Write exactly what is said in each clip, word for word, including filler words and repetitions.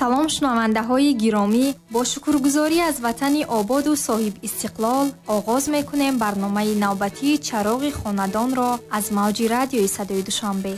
Салом шунавандаҳои гиромӣ, бо шукргузорӣ аз ватани ободу соҳиб истиқлол оғоз мекунем барномаи навбатии Чароғи хонадонро аз мавҷи радиои Садои Душанбе.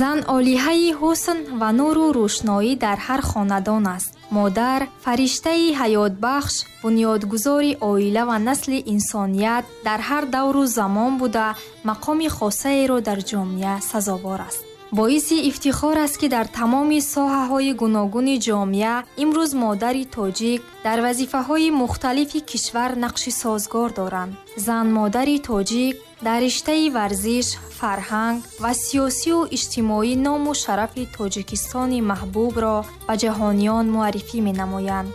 Зан олиҳаи ҳусн ва нуру рӯшноӣ дар ҳар хонадон аст. Модар фариштаи ҳаётбахш, бунёдгузори оила ва насли инсоният дар ҳар давру замон буда, мақоми хосаеро дар ҷомеа сазовор аст. Боиси ифтихор аст, ки дар тамоми соҳаҳои гуногуни ҷомеа имрӯз модари тоҷик дар вазифаҳои мухталифи кишвар нақши созгор доранд. Зан модари тоҷик дар риштаи варзиш, фарҳанг ва сиёсию иҷтимоӣ ному шарафи Тоҷикистони маҳбубро ба ҷаҳониён муаррифӣ менамоянд.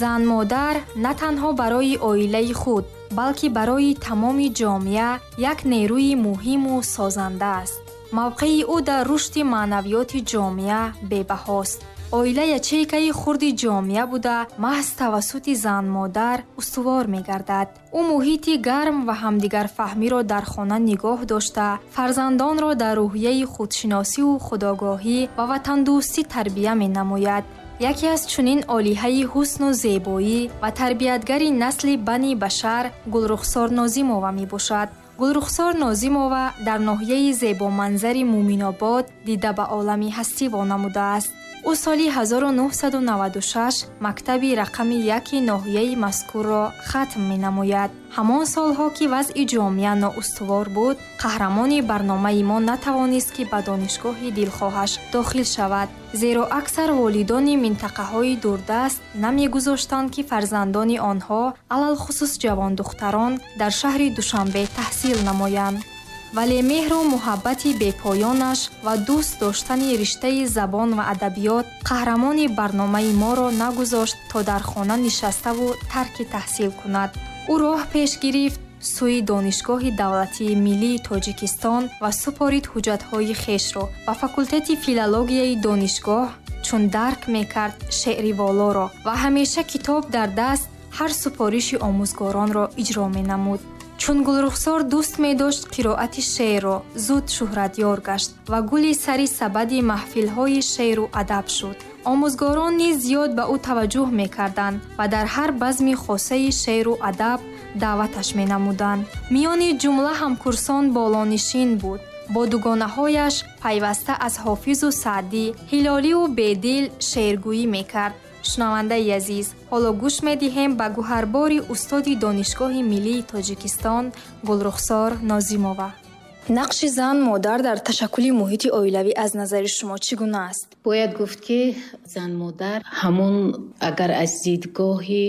Зан модар на танҳо барои оилаи худ, балки барои тамоми ҷомеа як нерӯи муҳиму созанда аст. Мавқеи ӯ дар рушди маънавиёти ҷомеа бебаҳост. Оила ячейкаи хурди ҷомеа буда, маҳз тавассути зан-модар устувор мегардад. Ӯ муҳити гарм ва ҳамдигарфаҳмиро дар хона нигоҳ дошта, фарзандонро дар рӯҳияи худшиносиву худогоҳӣ ва ватандӯстӣ тарбия менамояд. Яке аз чунин олиҳаи ҳусну зебоӣ ва тарбиятгари насли бани башар Гулрухсор Нозимова мебошад. Гулрухсор Нозимова дар ноҳияи зебоманзари Муминобод дида ба олами ҳастӣ вонамудааст. Ӯ соли ҳазору нуҳсаду наваду шаш мактаби рақами яки ноҳияи мазкурро хатм менамояд. Ҳамон солҳо, ки вазъи ҷомеа ноустувор буд, қаҳрамони барномаи мо натавонист, ки ба донишгоҳи дилхоҳаш дохил шавад, зеро аксар волидони минтақаҳои дурдаст намегузоштанд, ки фарзандони онҳо, алалхусус ҷавондухтарон, дар шаҳри Душанбе таҳсил намоянд. Вале меҳру муҳаббати бепоёнаш ва дӯст доштани риштаи забон ва адабиёт қаҳрамони барномаи моро нагузошт, то дар хона нишаставу тарки таҳсил кунад. Ӯ роҳ пеш гирифт сӯи Донишгоҳи давлатии миллии Тоҷикистон ва супорид ҳуҷҷатҳои хешро ба факултети филологияи донишгоҳ, чун дарк мекард шеъри волоро ва ҳамеша китоб дар даст ҳар супориши омӯзгоронро иҷро менамуд. Чун Гулрухсор дӯст медошт қироати шеърро, зуд шӯҳратёр гашт ва гули сари сабади маҳфилҳои шеъру адаб шуд. Омӯзгорон низ зиёд ба ӯ таваҷҷӯҳ мекарданд ва дар ҳар базми хосаи шеъру адаб даъваташ менамуданд. Миёни ҷумла ҳамкурсон болонишин буд. Бо дугонаҳояш пайваста аз Ҳофизу Саъдӣ, Ҳилоливу Бедил шеъргӯӣ мекард. Шунавандаи азиз, ҳоло гӯш медиҳем ба гӯҳарбори устоди Донишгоҳи миллии Тоҷикистон Гулрухсор Нозимова. Нақши зан модар дар ташаккули муҳити оилавӣ аз назари шумо чӣ гуна аст? Бояд гуфт, ки зан модар ҳамон агар аз дидгоҳи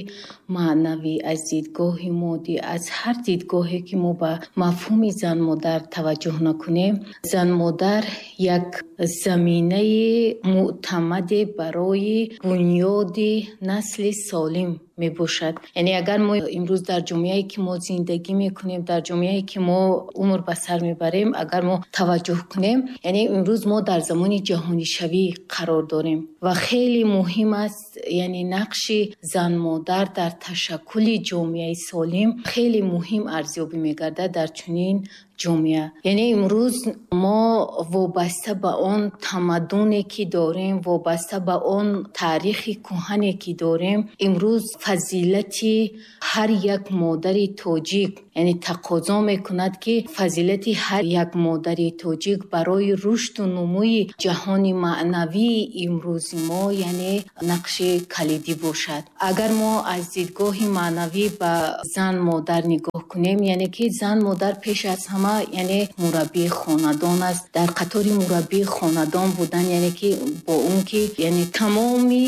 маънавӣ, аз дидгоҳи моддӣ, аз ҳар дидгоҳе ки мо ба мафҳуми зан модар таваҷҷӯҳ накунем, зан модар як заминаи мӯътамаде барои бунёди насли солим мебошад. Яъне агар мо имрӯз дар ҷомеае ки мо зиндагӣ мекунем, дар ҷомеае ки мо умр ба сар мебарем, агар мо таваҷҷӯҳ кунем, яъне имрӯз мо дар замони ҷаҳонишавӣ қарор дорем ва хеле муҳим аст, яъне нақши зан модар дар ташаккули ҷомеаи солим хеле муҳим арзёбӣ мегардад дар чунин ҷомеа. Яъне имрӯз мо вобаста ба он тамаддуне ки дорем, вобаста ба он таърихи кӯҳане ки дорем, имрӯз фазилати ҳар як модари тоҷик, яъне тақозо мекунад, ки фазилати ҳар як модари тоҷик барои рушду нумӯи ҷаҳони маънавии имрӯзи мо, яъне нақши калидӣ бошад. Агар мо аз дидгоҳи маънавӣ ба зан модар нигоҳ кунем, яъне ки зан модар пеш аз ҳама яъне мураббии хонадон аст. Дар қатори мураббии хонадон будан, яъне ки бо он ки яъне тамоми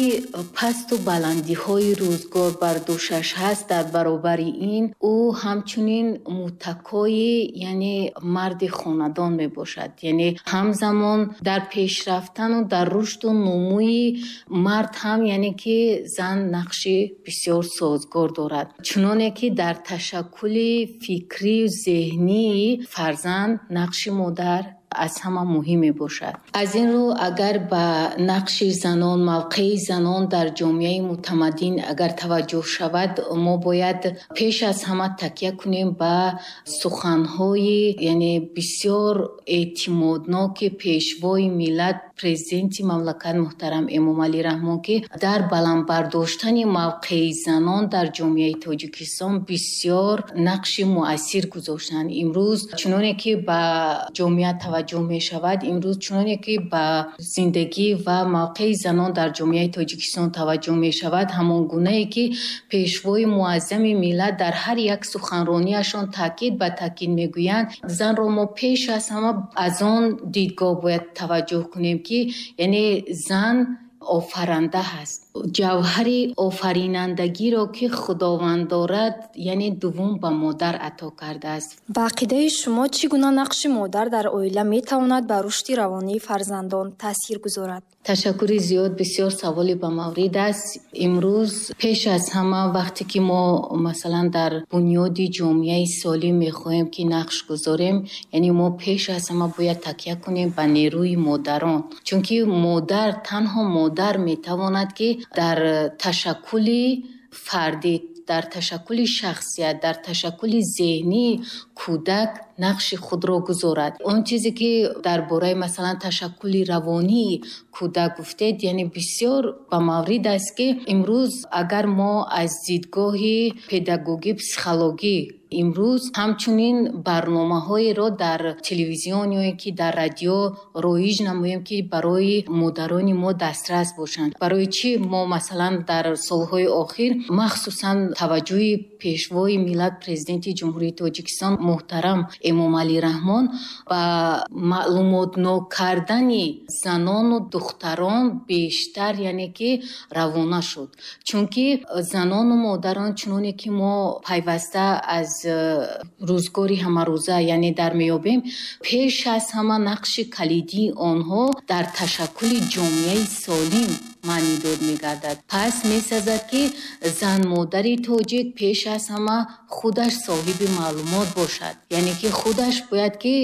пасту баландиҳои рӯзгор бар дӯшаш ҳаст, дар баробари ин ӯ ҳамчунин муттакои яъне марди хонадон мебошад. Яъне ҳамзамон дар пешрафтану дар рушду нумӯи мард ҳам яъне ки зан нақши бисёр созгор дорад. Чуноне ки дар ташаккули фикрию зеҳнии фарзанд нақши модар аз ҳама муҳим мебошад. Аз ин рӯ агар ба нақши занон, мавқеи занон дар ҷомеаи мутамаддин агар таваҷҷӯҳ шавад, мо бояд пеш аз ҳама такя кунем ба суханҳои яъне бисёр эътимодноки пешвои миллат, президенти мамлакат муҳтарам Эмомалӣ Раҳмон, ки дар баланд бардоштани мавқеи занон дар ҷомеаи Тоҷикистон бисёр нақши муассир гузоштанд. Имрӯз чуноне ки ба ҷомеа таваҷҷӯҳ мешавад, имрӯз чуноне ки ба зиндагӣ ва мавқеи занон дар ҷомеаи Тоҷикистон таваҷҷӯҳ мешавад, ҳамон гунае ки пешвои муаззами миллат дар ҳар як суханрониашон таъкид ба таъкид мегӯянд, занро мо пеш аз ҳама аз он дидгоҳ бояд таваҷҷӯҳ кунем ки яъне зан офаранда ҳаст. Ҷавҳари офаринандагиро ки Худованд дорад, яъне дуввум ба модар ато кардааст. Ба ақидаи шумо чӣ гуна нақши модар дар оила метавонад ба рушди равонии фарзандон таъсир гузорад? Ташаккури зиёд, бисёр саволи ба маврид аст. Имрӯз пеш аз ҳама вақте ки мо масалан дар бунёди ҷомеаи солим мехоҳем ки нақш гузорем, яъне мо пеш аз ҳама бояд такя кунем ба нерӯи модарон, чунки модар, танҳо модар метавонад ки дар ташаккули фардӣ, дар ташаккули шахсият, дар ташаккули зеҳнии кӯдак нақши худро гузорад. Он чизе ки дар бораи масалан ташаккули равонии кӯдак гуфтед, яъне бисёр ба маврид аст ки имрӯз агар мо аз дидгоҳи педагогӣ, психологӣ имрӯз ҳамчунин барномаҳоеро дар телевизион ё ки дар радио роиҷ намоем ки барои модарони мо дастрас бошанд. Барои чӣ мо масалан дар солҳои охир махсусан таваҷҷӯҳи пешвои миллат, президенти Ҷумҳурии Тоҷикистон муҳтарам Эмомалӣ Раҳмон ба маълумотнок кардани занону духтарон бештар яъне ки равона шуд. Чунки занону модарон чуноне ки мо пайваста аз рӯзгори ҳамарӯза яъне дар меёбем, пеш аз ҳама нақши калидии онҳо дар ташаккули ҷомеаи солим маънидод мегардад. Пас месазад ки зан модари тоҷик пеш аз ҳама худаш соҳиби маълумот бошад, яъне ки худаш бояд ки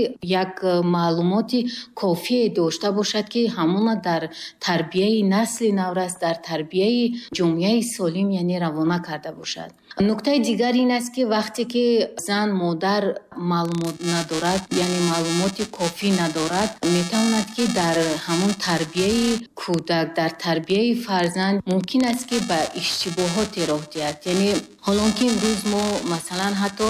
як маълумоти кофие дошта бошад ки ҳамона дар тарбияи насли наврас, дар тарбияи ҷомеаи солим яъне равона карда бошад. Нуктаи дигар ин аст ки вақте ки зан модар маълумот надорад, яъне маълумоти кофӣ надорад, метавонад ки дар ҳамон тарбияи кӯдак, дар тарбияи фарзанд мумкин аст ки ба иштибоҳоте роҳ диҳад. Яъне ҳолон ки имрӯз мо масалан ҳатто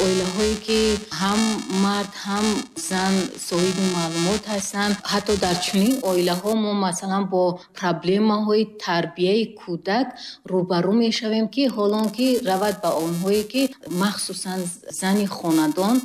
оилаҳое ки ҳам мард ҳам зан соҳиби маълумот ҳастанд, ҳатто дар чунин оилаҳо мо масалан бо проблемаҳои тарбияи кӯдак рӯбарӯ мешавем ки ҳолон ки равад ба онҳое ки махсусан зани хонадон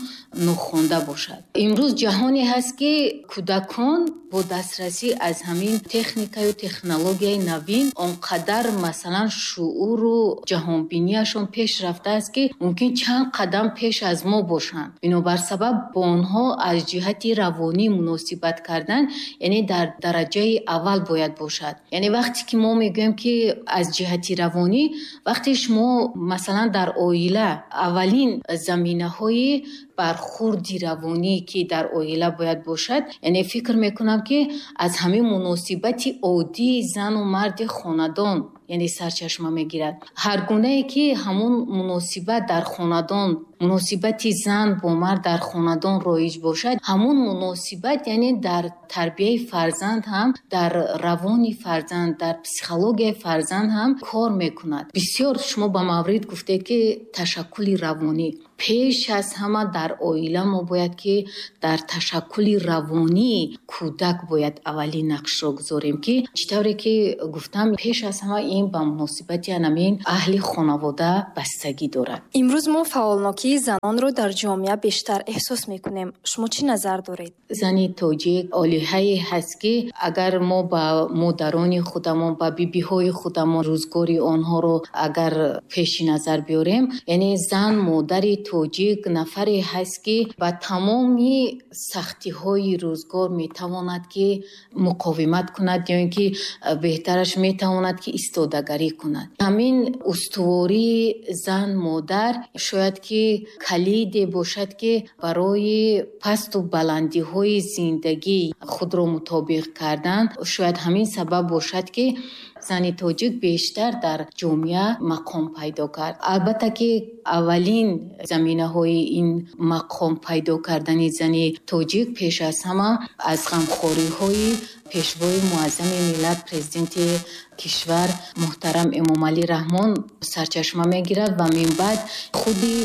нохонда бошад. Имрӯз ҷаҳоне ҳаст ки кӯдакон бо дастрасӣ аз ҳамин техникаю технологияи навин он қадар масалан шууру ҷаҳонбинияшон пеш рафтааст ки мумкин чанд қадам пеш аз мо бошанд. Бинобар сабаб бо онҳо аз ҷиҳати равонӣ муносибат кардан яъне дар дараҷаи аввал бояд бошад. Яъне вақте ки мо мегӯем ки аз ҷиҳати равонӣ, вақте шумо масалан дар оила аввалин заминаҳои бархурди равонӣ ки дар оила бояд бошад, яъне фикр мекунам ки аз ҳамин муносибати оддии зану марди хонадон яъне сарчашма мегирад. Ҳар гунае ки ҳамон муносибат дар хонадон, муносибати зан бо мард дар хонадон роиҷ бошад, ҳамон муносибат яъне дар тарбияи фарзанд ҳам, дар равони фарзанд, дар психологияи фарзанд ҳам кор мекунад. Бисёр шумо ба маврид гуфтед ки ташаккули равонӣ пеш аз ҳама дар оила мо бояд ки дар ташаккули равонии кӯдак бояд аввалин нақшро гузорем ки чӣ тавре ки гуфтам пеш аз ҳама ин ба муносибати анамин аҳли хонавода бастагӣ дорад. Имрӯз мо фаъолнокии занонро дар ҷомеа бештар эҳсос мекунем. Шумо чӣ назар доред? Зани тоҷик олиҳае ҳаст ки агар мо ба модарони худамон, ба бибиҳои худамон рӯзгори онҳоро агар пеши назар биёрем, яъне зан модари тоҷик нафаре ҳаст, ки ба тамоми сахтиҳои рӯзгор метавонад, ки муқовимат кунад ё ин ки беҳтараш метавонад, ки истодагарӣ кунад. Ҳамин устувории зан модар шояд ки калиде бошад, ки барои пасту баландиҳои зиндагӣ худро мутобиқ кардан, шояд ҳамин сабаб бошад, ки зани тоҷик бештар дар ҷомеа мақом пайдо кард. Албатта ки аввалин заминаҳои ин мақом пайдо кардани зани тоҷик пеш аз ҳама аз ғамхориҳои пешвои муаззами миллат, президенти кишвар муҳтарам Эмомалӣ Раҳмон сарчашма мегирад ва минбаъд худи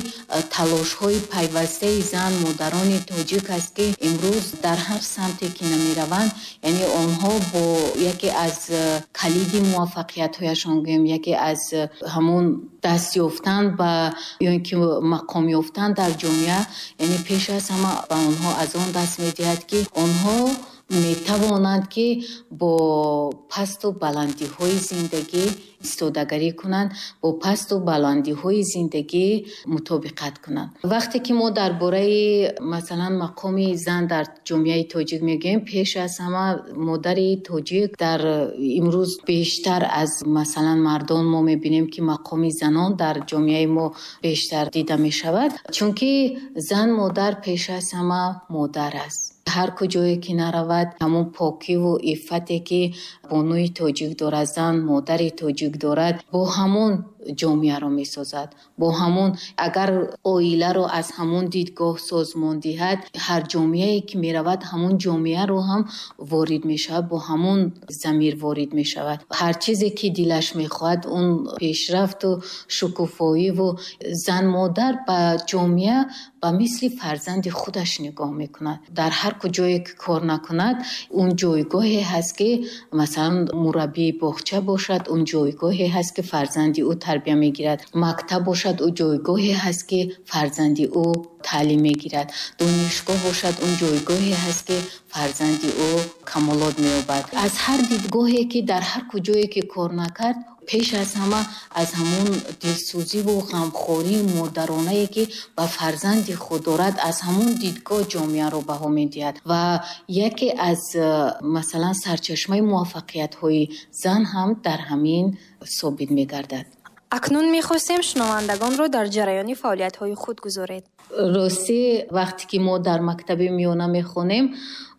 талошҳои пайвастаи зан модарони тоҷик аст, ки имрӯз дар ҳар самте ки намераванд, яъне онҳо бо яке аз калиди муваффақиятҳояшон гӯем, яке аз ҳамон даст ёфтан ба ё ин ки мақом ёфтан дар ҷомеа, яъне пеш аз ҳама ба онҳо аз он даст медиҳад, ки онҳо метавонанд, ки бо пасту баландиҳои зиндагӣ истодагарӣ кунанд, бо пасту баландиҳои зиндагӣ мутобиқат кунанд. Вақте ки мо дар бораи масалан мақоми зан дар ҷомеаи тоҷик мегӯем, пеш аз ҳама модари тоҷик дар имрӯз бештар аз масалан мардон мо мебинем, ки мақоми занон дар ҷомеаи мо бештар дида мешавад, чунки зан модар пеш аз ҳама модар аст. Ҳар куҷое ки наравад, ҳамон покиву иффате ки бонуи тоҷик дорад, зан модари тоҷик дорад, бо ҳамон ҷомеаро месозад, бо ҳамон агар оиларо аз ҳамон дидгоҳ созмон диҳад, ҳар ҷомеае ки меравад, ҳамон ҷомеаро ҳам ворид мешавад, бо ҳамон замир ворид мешавад. Ҳар чизе ки дилаш мехоҳад, он пешрафту шукуфоиву зан модар ба ҷомеа ба мисли фарзанди худаш нигоҳ мекунад. Дар ҳар куҷое ки кор накунад, он ҷойгоҳе ҳаст, ки масалан мураббии боғча бошад, он ҷойгоҳе ҳаст, ки фарзанди ӯ тарбия мегирад. Мактаб бошад, ӯ ҷойгоҳе ҳаст, ки фарзанди ӯ таълим мегирад. Донишгоҳ бошад, он ҷойгоҳе ҳаст, ки фарзанди ӯ камолот меёбад. Аз ҳар дидгоҳе ки дар ҳар куҷое ки кор накард, пеш аз ҳама аз ҳамон дилсӯзиву ғамхории модаронае ки ба фарзанди худ дорад, аз ҳамон дидгоҳ ҷомеаро баҳо медиҳад. Ва яке аз масалан сарчашмаи муваффақиятҳои зан ҳам дар ҳамин собит мегардад. Акнун мехостем шунавандагонро дар ҷараёни фаъолиятҳои худ гузоред. Ростӣ вақте ки мо дар мактаби миёна мехонем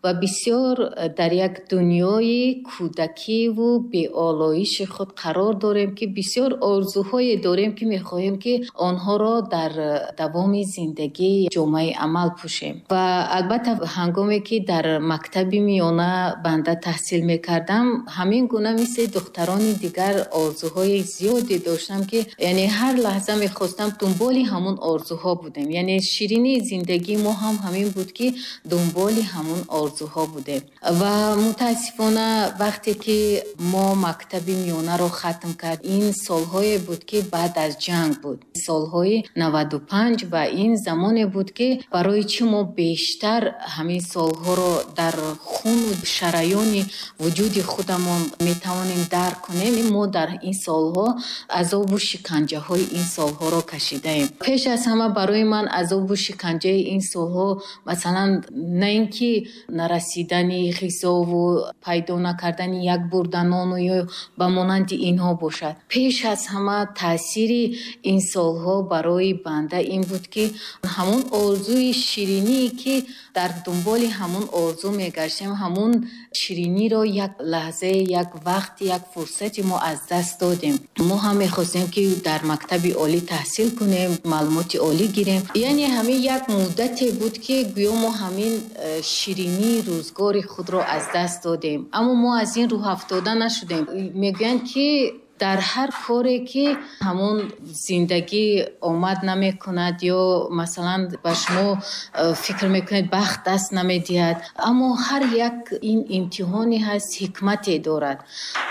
ва бисёр дар як дунёи кӯдакиву беолоиши худ қарор дорем, ки бисёр орзуҳое дорем, ки мехоҳем, ки онҳоро дар давоми зиндагӣ ҷомаи амал пӯшем. Ва албатта ҳангоме ки дар мактаби миёна банда таҳсил мекардам, ҳамин гуна мисли духтарони дигар орзуҳои зиёде доштам, ки яъне ҳар лаҳза мехостам дунболи ҳамон орзуҳо будем. Яъне ширинии зиндагии мо ҳам ҳамин буд, ки дунболи ҳамон орзуҳо будем. Ва мутаассифона вақте ки мо мактаби миёнаро хатм кард, ин солҳое буд, ки баъд аз ҷанг буд, солҳои наваду панҷ, ва ин замоне буд, ки барои чӣ мо бештар ҳамин солҳоро дар хуну шараёни вуҷуди худамон метавонем дарк кунем. Мо дар ин солҳо азобу шиканҷаҳои ин солҳоро кашидаем. Пеш аз ҳама барои ман азобу шиканҷаи ин солҳо масалан на ин ки нарасидани ғизову пайдо накардани як бурда нону ё ба монанди инҳо бошад. Пеш аз ҳама таъсири ин солҳо барои банда ин буд, ки ҳамон орзуи шириние ки дар дунболи ҳамон орзу мегаштем, ҳамон шириниро як лаҳзае, як вақт, як фурсати мо аз даст додем. Мо ҳам мехостем, ки дар мактаби олӣ таҳсил кунем, маълумоти олӣ гирем. Яъне ҳамин як муддате буд, ки гӯё мо ҳамин ширинии рӯзгори худро аз даст додем. Аммо мо аз ин рӯҳафтода нашудем. Мегӯянд, ки дар ҳар коре ки ҳамон зиндагӣ омад намекунад ё масалан ба шумо фикр мекунед бахт даст намедиҳад, аммо ҳар як ин имтиҳоне ҳаст, ҳикмате дорад.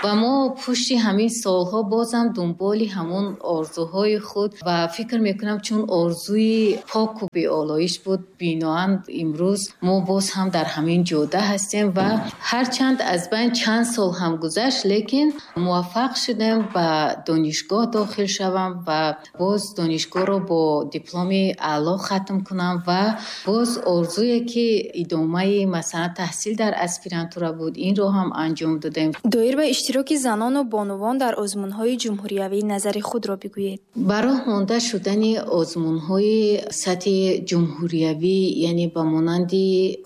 Ва мо пушти ҳамин солҳо бозам дунболи ҳамон орзуҳои худ ва фикр мекунам, чун орзуи поку беолоиш буд, биноан имрӯз мо боз ҳам дар ҳамин ҷода ҳастем ва ҳарчанд аз байн чанд сол ҳам гузашт, лекин муваффақ шудем. кардам ба донишгоҳ дохил шавам ва боз донишгоҳро бо дипломи аъло хатм кунам ва боз орзуе ки идомаи масалан таҳсил дар аспирантура буд, инро ҳам анҷом додем. Доир ба иштироки занону бонувон дар озмунҳои ҷумҳуриявӣ назари худро бигӯед. Ба роҳ монда шудани озмунҳои сатҳи ҷумҳуриявӣ, яъне ба монанди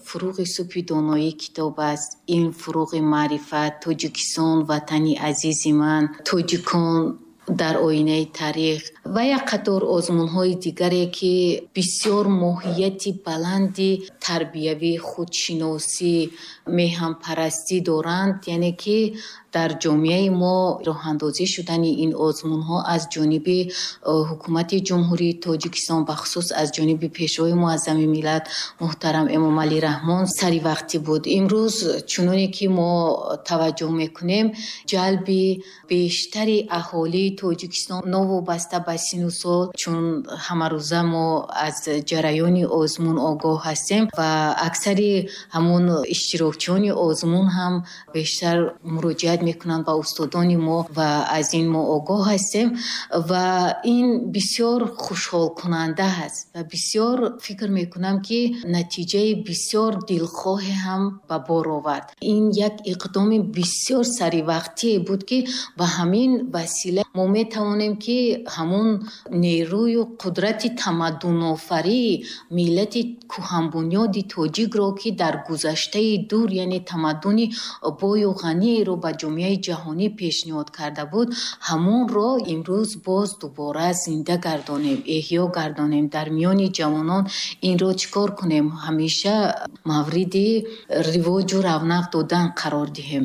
фуруғи субҳи доноӣ китоб аст, илм фуруғи маърифат, Тоҷикистон ватани азизи ман, тоҷикон дар оинаи таърих ва як қатор озмунҳои дигаре ки бисёр моҳияти баланди тарбиявӣ, худшиносӣ, меҳанпарастӣ доранд, яъне ки дар ҷомеаи мо роҳандозӣ шудани ин озмунҳо аз ҷониби ҳукумати Ҷумҳурии Тоҷикистон, бахусус аз ҷониби Пешвои Муаззами миллат муҳтарам Эмомалӣ Раҳмон саривақтӣ буд. Имрӯз чуноне ки мо таваҷҷӯҳ мекунем, ҷалби бештари аҳолии Тоҷикистон новобаста ба сину сол, чун ҳамарӯза мо аз ҷараёни озмун огоҳ ҳастем ва аксари ҳамон иштирокчиёни озмун ҳам бештар муроҷиат мекунанд ба устодони мо ва аз ин мо огоҳ ҳастем ва ин бисёр хушҳолкунанда аст ва бисёр фикр мекунам ки натиҷаи бисёр дилхоҳе ҳам ба бор овард. Ин як иқдоми бисёр саривақтие буд ки ба ҳамин васила мо метавонем ки ҳамон нерӯю қудрати тамаддунофарии миллати кӯҳанбунёди тоҷикро ки дар гузаштаи дур, яъне тамаддуни бою ғаниеро ба ҷомеаи ҷаҳонӣ пешниҳод карда буд, ҳамонро имрӯз боз дубора зинда гардонем, эҳё гардонем, дар миёни ҷавонон инро чӣ кор кунем, ҳамеша мавриди ривоҷу равнақ додан қарор диҳем.